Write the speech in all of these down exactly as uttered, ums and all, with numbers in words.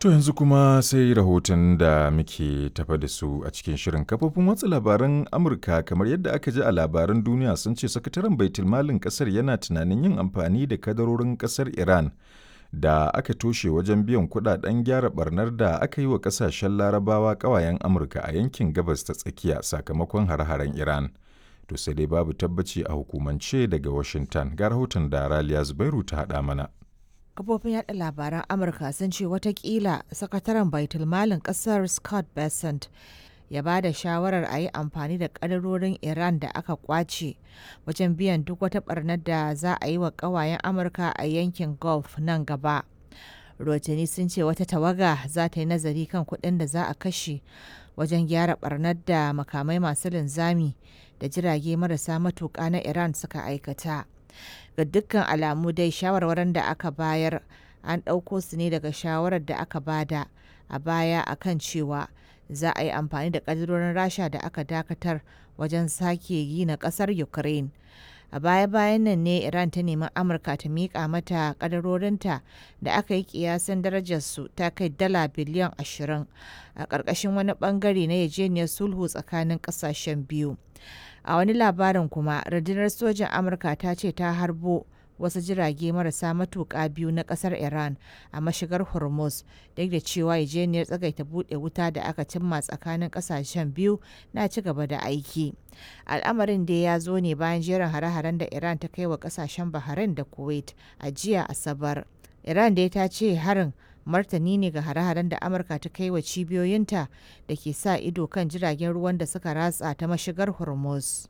To yanzu kuma sai rahoton da muke tafa da su a cikin shirin. Kafofin watsa labaran Amurka, kamar yadda aka ji a labaran duniya, sun ce sakataren baitulmalin kasar yana tunanin yin amfani da kadarorin kasar Iran da aka toshe wajen biyan kudaden gyara barnar da aka yi wa kasashen Larabawa kawayen Amurka a yankin Gabas ta Tsakiya sakamakon hare-haren Iran. To sai dai babu tabbaci a hukumance daga Washington. Ga rahoton da Raliya Zubairu ta haɗa mana. Kafofin yada labaran Amurka sun ce watakila sakataren baitulmalin kasar Scott Bessent ya ba da shawarar a yi amfani da kadarorin Iran da aka kwace wajen biyan duk wata barnar da za a yi wa kawayen Amurka a yankin Gulf nan gaba. Rotani sun ce wata tawaga za ta yi nazari kan kuɗin da za a kashe wajen gyara barnar da makamai masu linzami da jirage marasa matuƙa na Iran suka aikata. Ga dukkan alamu dai, shawarwarin da aka bayar an ɗauko su ne daga shawarar da aka bada a baya akan cewa za a yi amfani da ƙadirorin Rasha da aka dakatar wajen sake gina ƙasar Ukraine. A baya-bayan nan ne Iran ta nemi Amurka ta miƙa mata ƙadarorinta da aka yi kiyasin darajarsu ta kai dala biliyan ashirin a ƙarƙashin wani ɓangare na yarjejeniyar sulhu tsakanin ƙasashen biyu. A wani labarin kuma, rundunar sojin Amurka ta ce ta harbo wasu jirage marasa matuƙa biyu na ƙasar Iran a mashigar Hormuz, duk da cewa yarjejeniyar tsagaita buɗe wuta da aka cimma tsakanin ƙasashen biyu na ci gaba da aiki. Al'amarin dai ya zo ne bayan jerin hare-haren da Iran ta kai wa ƙasashen Bahrain da Kuwait a jiya Asabar. Iran dai ta ce harin martani ne ga hare-haren da Amurka ta kai wa cibiyoyinta da ke sa ido kan jiragen ruwan da suka ratsa ta mashigar Hormuz.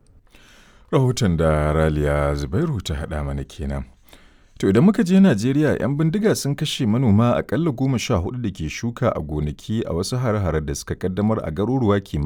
Rahoton da Raliya Zubairu ta haɗa mana kenan. To idan muka je Najeriya, 'yan bindiga sun kashe manoma akalla goma sha hudu da ke shuka a gonaki a wasu hare-hare da suka kaddamar a garuruwa kimanin